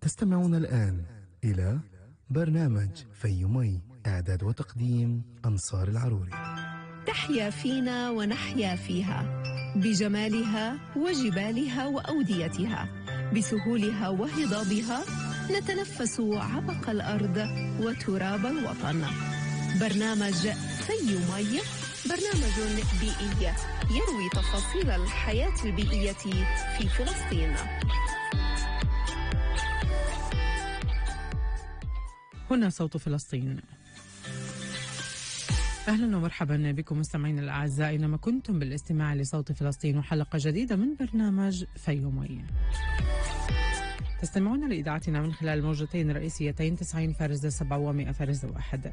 تستمعون الآن إلى برنامج فيومي، إعداد وتقديم أنصار العروري. تحيا فينا ونحيا فيها بجمالها وجبالها وأوديتها، بسهولها وهضابها نتنفس عبق الأرض وتراب الوطن. برنامج فيومي برنامج بيئي يروي تفاصيل الحياة البيئية في فلسطين. هنا صوت فلسطين. أهلا ومرحبا بكم مستمعين الأعزاء أينما كنتم بالاستماع لصوت فلسطين وحلقة جديدة من برنامج فيومي. تستمعون لإذاعتنا من خلال موجتين رئيسيتين 90.7 و100.1.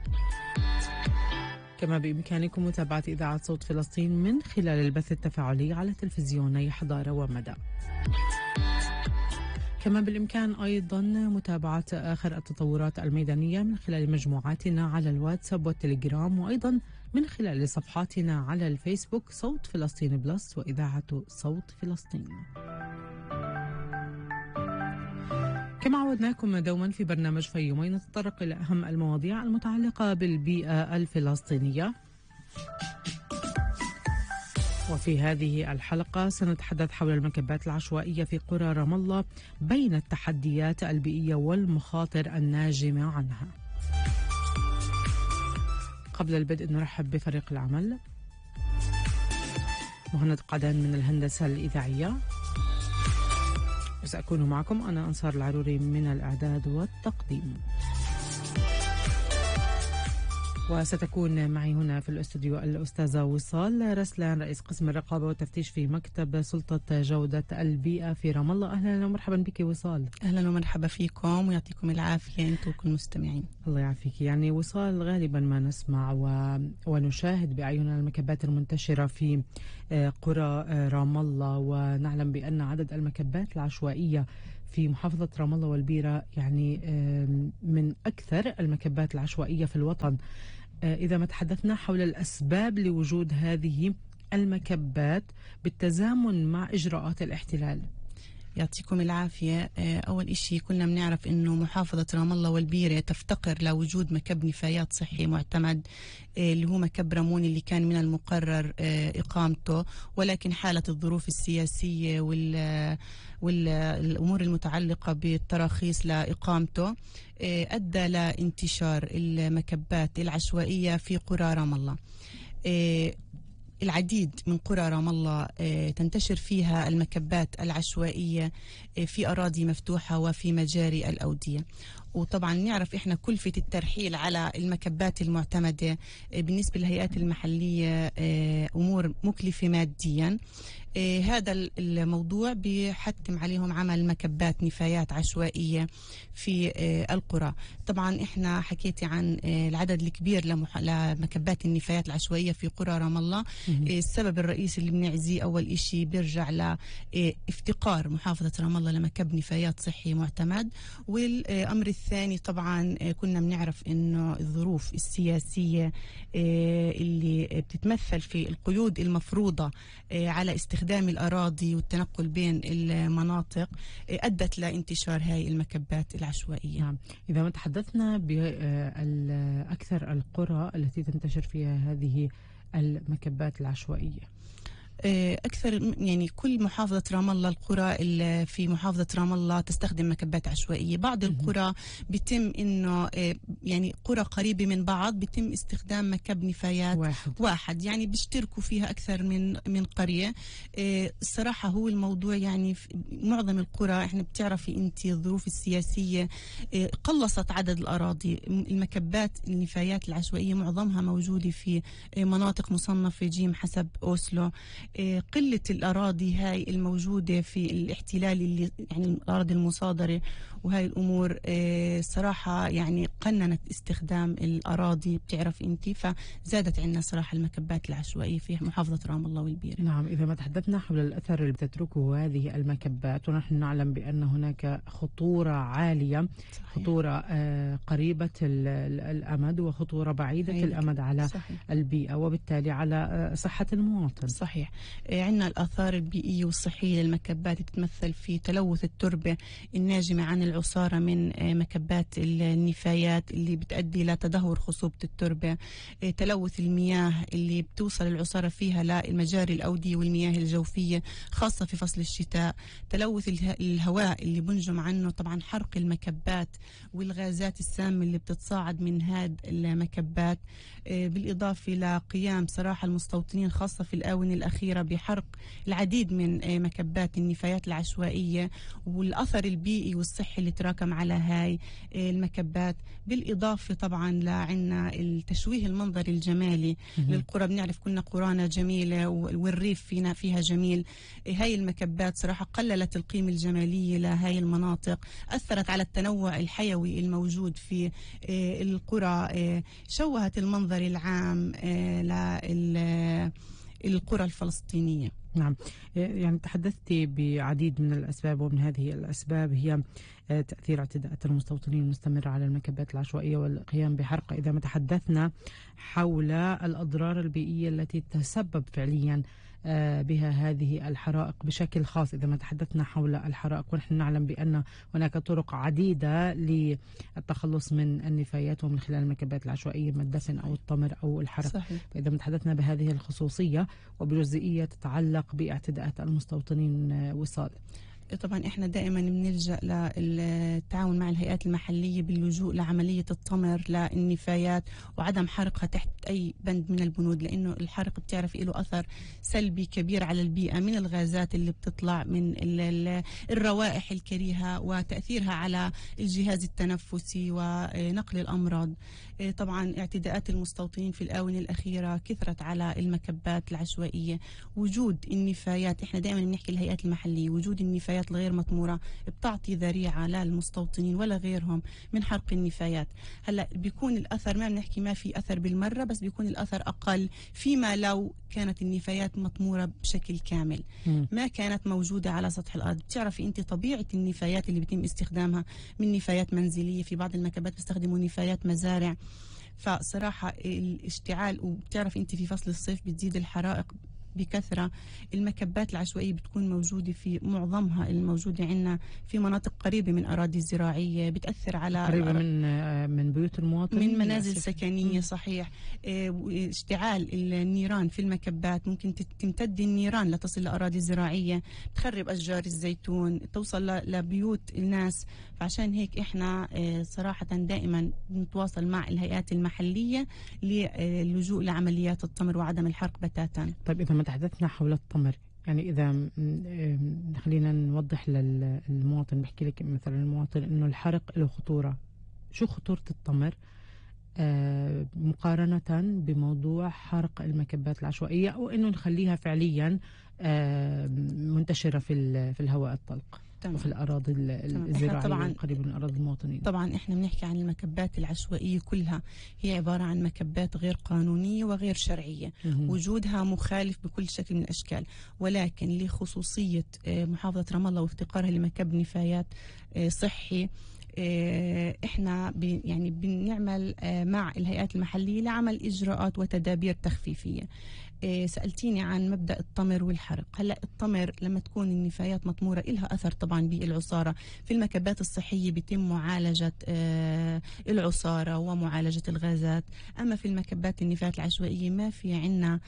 كما بإمكانكم متابعة إذاعة صوت فلسطين من خلال البث التفاعلي على تلفزيوني حضارة ومدى. كما بالإمكان أيضا متابعة آخر التطورات الميدانية من خلال مجموعاتنا على الواتساب والتليجرام، وأيضا من خلال صفحاتنا على الفيسبوك صوت فلسطين بلس وإذاعة صوت فلسطين. كما عودناكم دوما في برنامج فيومي نتطرق إلى أهم المواضيع المتعلقة بالبيئة الفلسطينية، وفي هذه الحلقة سنتحدث حول المكبات العشوائية في قرى رام الله بين التحديات البيئية والمخاطر الناجمة عنها. قبل البدء نرحب بفريق العمل: مهند قعدان من الهندسة الإذاعية، وسأكون معكم أنا أنصار العروري من الإعداد والتقديم. وستكون معي هنا في الاستوديو الأستاذة وصال رسلان، رئيس قسم الرقابة والتفتيش في مكتب سلطة جودة البيئة في رام الله. أهلا ومرحبا بك وصال. أهلا ومرحبا فيكم ويعطيكم العافية أنتم كل المستمعين. الله يعافيك. يعني وصال، غالبا ما نسمع ونشاهد بأعيننا المكبات المنتشرة في قرى رام الله، ونعلم بأن عدد المكبات العشوائية في محافظة رام الله والبيرة يعني من أكثر المكبات العشوائية في الوطن. إذا ما تحدثنا حول الأسباب لوجود هذه المكبات بالتزامن مع إجراءات الاحتلال. يعطيكم العافية. أول إشي كنا بنعرف إنه محافظة رام الله والبيرة تفتقر لوجود مكب نفايات صحي معتمد اللي هو مكب رامون اللي كان من المقرر إقامته، ولكن حالة الظروف السياسية والأمور المتعلقة بالتراخيص لإقامته أدى لانتشار المكبات العشوائية في قرى رام الله. العديد من قرى رام الله تنتشر فيها المكبات العشوائية في أراضي مفتوحة وفي مجاري الأودية. وطبعا نعرف إحنا كلفة الترحيل على المكبات المعتمدة بالنسبة للهيئات المحلية أمور مكلفة ماديا. هذا الموضوع بيحتم عليهم عمل مكبات نفايات عشوائية في القرى. طبعا إحنا حكيتي عن العدد الكبير لمكبات النفايات العشوائية في قرى رام الله. السبب الرئيسي اللي بنعزيه أول إشي بيرجع لافتقار محافظة رام الله لمكب نفايات صحي معتمد، والأمر الثاني طبعا كنا بنعرف إنه الظروف السياسية اللي بتتمثل في القيود المفروضة على استخدام الأراضي والتنقل بين المناطق أدت لانتشار هاي المكبات العشوائية. نعم. إذا ما تحدثنا بأكثر القرى التي تنتشر فيها هذه المكبات العشوائية، أكثر يعني كل محافظة رام الله، القرى اللي في محافظة رام الله تستخدم مكبات عشوائية. بعض القرى بيتم إنه يعني قرى قريبة من بعض بيتم استخدام مكب نفايات واحد يعني بيشتركوا فيها أكثر من قرية. الصراحة هو الموضوع يعني في معظم القرى إحنا بتعرفي أنت الظروف السياسية قلصت عدد الأراضي. المكبات النفايات العشوائية معظمها موجودة في مناطق مصنفة جيم حسب أوسلو. قلة الأراضي هاي الموجودة في الاحتلال اللي يعني الأراضي المصادرة، وهاي الأمور صراحة يعني قننت استخدام الأراضي بتعرف أنت، فزادت عندنا صراحة المكبات العشوائية في محافظة رام الله والبيرة. نعم. إذا ما تحدثنا حول الأثر اللي بتتركه هذه المكبات، ونحن نعلم بأن هناك خطورة عالية، صحيح. خطورة قريبة الأمد وخطورة بعيدة الأمد على البيئة وبالتالي على صحة المواطن. صحيح. عندنا الآثار البيئية والصحية للمكبات بتتمثل في تلوث التربة الناجمة عن العصارة من مكبات النفايات اللي بتؤدي لتدهور خصوبة التربة، تلوث المياه اللي بتوصل العصارة فيها للمجاري الأودية والمياه الجوفية خاصة في فصل الشتاء، تلوث الهواء اللي بنجم عنه طبعا حرق المكبات والغازات السامة اللي بتتصاعد من هاد المكبات، بالإضافة لقيام صراحة المستوطنين خاصة في الآونة الأخيرة بحرق العديد من مكبات النفايات العشوائية والأثر البيئي والصحي اللي تراكم على هاي المكبات، بالإضافة طبعا لعنا التشويه المنظري الجمالي للقرى. بنعرف كنا قرانا جميلة والريف فيها جميل، هاي المكبات صراحة قللت القيمة الجمالية لهاي المناطق، أثرت على التنوع الحيوي الموجود في القرى، شوهت المنظر العام للقرى الفلسطينية. نعم، يعني تحدثتي بعديد من الأسباب، ومن هذه الأسباب هي تأثير اعتداءات المستوطنين المستمرة على المكبات العشوائية والقيام بحرقها. إذا ما تحدثنا حول الأضرار البيئية التي تسبب فعليا بها هذه الحرائق بشكل خاص، إذا ما تحدثنا حول الحرائق ونحن نعلم بأن هناك طرق عديدة للتخلص من النفايات ومن خلال المكبات العشوائية، من الدفن أو الطمر أو الحرق. صحيح. فإذا ما تحدثنا بهذه الخصوصية وبجزئية تتعلق باعتداءات المستوطنين وصال، طبعا احنا دائما بنلجأ للتعاون مع الهيئات المحلية باللجوء لعملية الطمر للنفايات وعدم حرقها تحت أي بند من البنود، لأنه الحرق بتعرف له أثر سلبي كبير على البيئة من الغازات اللي بتطلع من الروائح الكريهة وتأثيرها على الجهاز التنفسي ونقل الأمراض. طبعا اعتداءات المستوطنين في الآونة الأخيرة كثرت على المكبات العشوائية، وجود النفايات، احنا دائما بنحكي الهيئات المحلية، وجود النفايات الغير مطمورة بتعطي ذريعة للمستوطنين ولا غيرهم من حرق النفايات. هلا بيكون الأثر، ما بنحكي ما في أثر بالمرة، بس بيكون الأثر أقل فيما لو كانت النفايات مطمورة بشكل كامل، ما كانت موجودة على سطح الأرض. بتعرفي أنت طبيعة النفايات اللي بيتم استخدامها من نفايات منزلية، في بعض المكبات بيستخدموا نفايات مزارع، فصراحة الاشتعال، وبتعرف أنت في فصل الصيف بتزيد الحرائق بكثرة. المكبات العشوائية بتكون موجودة في معظمها الموجودة عندنا في مناطق قريبة من أراضي زراعية، بتأثر على قريبة من بيوت المواطنين، من منازل سكنية. صحيح. اشتعال النيران في المكبات ممكن تمتد النيران لتصل لأراضي زراعية، تخرب أشجار الزيتون، توصل لبيوت الناس. فعشان هيك احنا صراحة دائما نتواصل مع الهيئات المحلية للجوء لعمليات الطمر وعدم الحرق بتاتا. طيب إذا ما تحدثنا حول الطمر، يعني إذا خلينا نوضح للمواطن، بحكي لك مثلا المواطن إنه الحرق له خطورة، شو خطورة الطمر مقارنة بموضوع حرق المكبات العشوائية، أو إنه نخليها فعليا منتشرة في الهواء الطلق وفي الأراضي الزراعية القريبة من أراضي المواطنين؟ طبعا إحنا بنحكي عن المكبات العشوائية كلها، هي عبارة عن مكبات غير قانونية وغير شرعية، وجودها مخالف بكل شكل من الأشكال، ولكن لخصوصية محافظة رام الله وافتقارها لمكب نفايات صحي، احنا يعني بنعمل مع الهيئات المحلية لعمل إجراءات وتدابير تخفيفية. سألتيني عن مبدأ الطمر والحرق. هلا الطمر لما تكون النفايات مطمورة إلها أثر طبعا بالعصارة، في المكبات الصحية بيتم معالجة العصارة ومعالجة الغازات، أما في المكبات النفايات العشوائية ما في عنا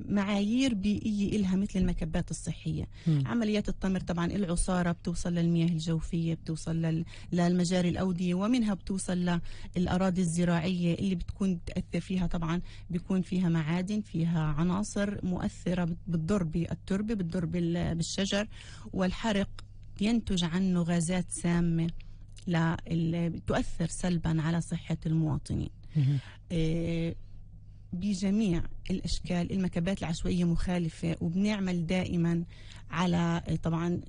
معايير بيئية إلها مثل المكبات الصحية. عمليات الطمر طبعا العصارة بتوصل للمياه الجوفية، بتوصل للمجاري الأودية، ومنها بتوصل للأراضي الزراعية اللي بتكون تأثر فيها، طبعا بيكون فيها معادن، فيها عناصر مؤثرة بتضر بالتربة، بتضر بالشجر، والحرق ينتج عنه غازات سامة تؤثر سلبا على صحة المواطنين. بجميع الأشكال المكبات العشوائية مخالفة، وبنعمل دائما على طبعا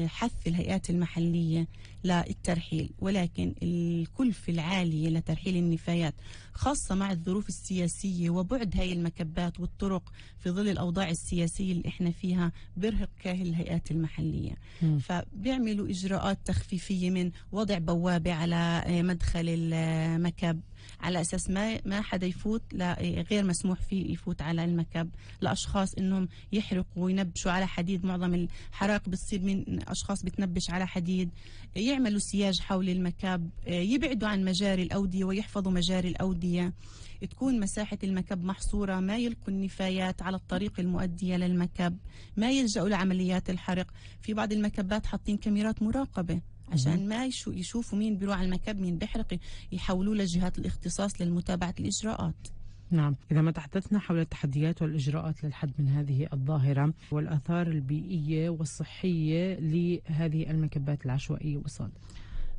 حث الهيئات المحلية للترحيل، ولكن الكلفة العالية لترحيل النفايات خاصة مع الظروف السياسية وبعد هاي المكبات والطرق في ظل الأوضاع السياسية اللي احنا فيها بيرهق كاهل الهيئات المحلية. فبيعملوا إجراءات تخفيفية من وضع بوابة على مدخل المكب على أساس ما حدا يفوت، لا غير مسموح فيه يفوت تفوت على المكب لأشخاص إنهم يحرقوا وينبشوا على حديد. معظم الحرائق بتصير من أشخاص بتنبش على حديد. يعملوا سياج حول المكب، يبعدوا عن مجاري الأودية ويحفظوا مجاري الأودية، تكون مساحة المكب محصورة، ما يلقوا النفايات على الطريق المؤدية للمكب، ما يلجأوا لعمليات الحرق. في بعض المكبات حاطين كاميرات مراقبة عشان ما يشوفوا مين بيروح على المكب مين بيحرق، يحولوا لجهات الاختصاص للمتابعة الإجراءات. نعم، إذا ما تحدثنا حول التحديات والإجراءات للحد من هذه الظاهرة والآثار البيئية والصحية لهذه المكبات العشوائية وصال.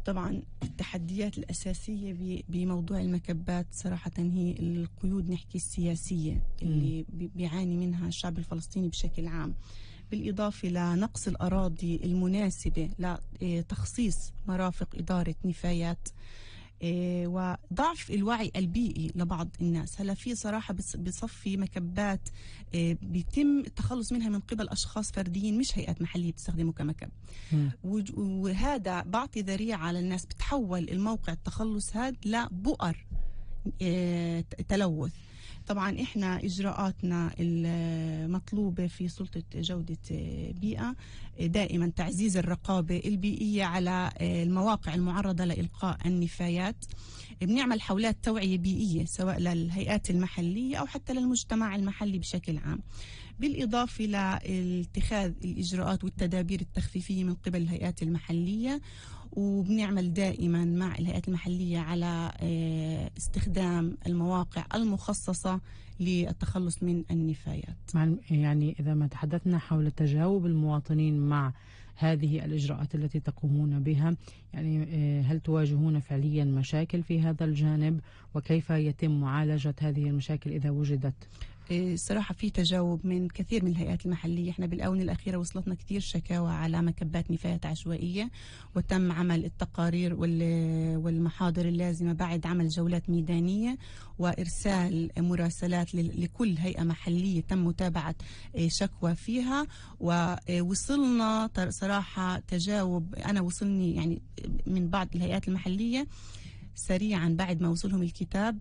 طبعا التحديات الأساسية بموضوع المكبات صراحة هي القيود نحكي السياسية اللي بيعاني منها الشعب الفلسطيني بشكل عام، بالإضافة لنقص الأراضي المناسبة لتخصيص مرافق إدارة نفايات، وضعف الوعي البيئي لبعض الناس. هلا في صراحة بصفي مكبات بيتم التخلص منها من قبل أشخاص فرديين مش هيئات محلية بتستخدمه كمكب، وهذا بعطي ذريعة للناس بتحول الموقع التخلص هذا لبؤر تلوث. طبعا احنا اجراءاتنا المطلوبه في سلطه جوده بيئه دائما تعزيز الرقابه البيئيه على المواقع المعرضه لالقاء النفايات. بنعمل حولات توعيه بيئيه سواء للهيئات المحليه او حتى للمجتمع المحلي بشكل عام، بالإضافة لاتخاذ الإجراءات والتدابير التخفيفية من قبل الهيئات المحلية. وبنعمل دائما مع الهيئات المحلية على استخدام المواقع المخصصة للتخلص من النفايات. يعني إذا ما تحدثنا حول تجاوب المواطنين مع هذه الإجراءات التي تقومون بها، يعني هل تواجهون فعليا مشاكل في هذا الجانب، وكيف يتم معالجة هذه المشاكل إذا وجدت؟ صراحة في تجاوب من كثير من الهيئات المحلية. احنا بالآونة الأخيرة وصلتنا كثير شكاوى على مكبات نفايات عشوائية، وتم عمل التقارير والمحاضر اللازمة بعد عمل جولات ميدانية وإرسال مراسلات لكل هيئة محلية تم متابعة شكوى فيها. ووصلنا صراحة تجاوب، أنا وصلني يعني من بعض الهيئات المحلية سريعا بعد ما وصلهم الكتاب